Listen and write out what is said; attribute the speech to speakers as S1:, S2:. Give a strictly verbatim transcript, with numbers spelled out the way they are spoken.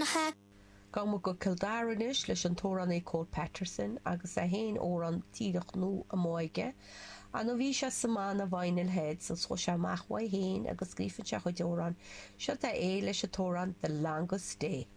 S1: Ainmneacha.
S2: Gabhfaidh muid go Cill Dara anois leis an t-amhránaí Cole Patterson agus é féin amhrán díreach nua amuigh aige. Ó bhí sé sa mbanna Vinyl Heads agus chuaigh sé amach uaidh féin agus scríobhann sé a chuid amhrán. Seo é leis an t-amhrán The Longest Day.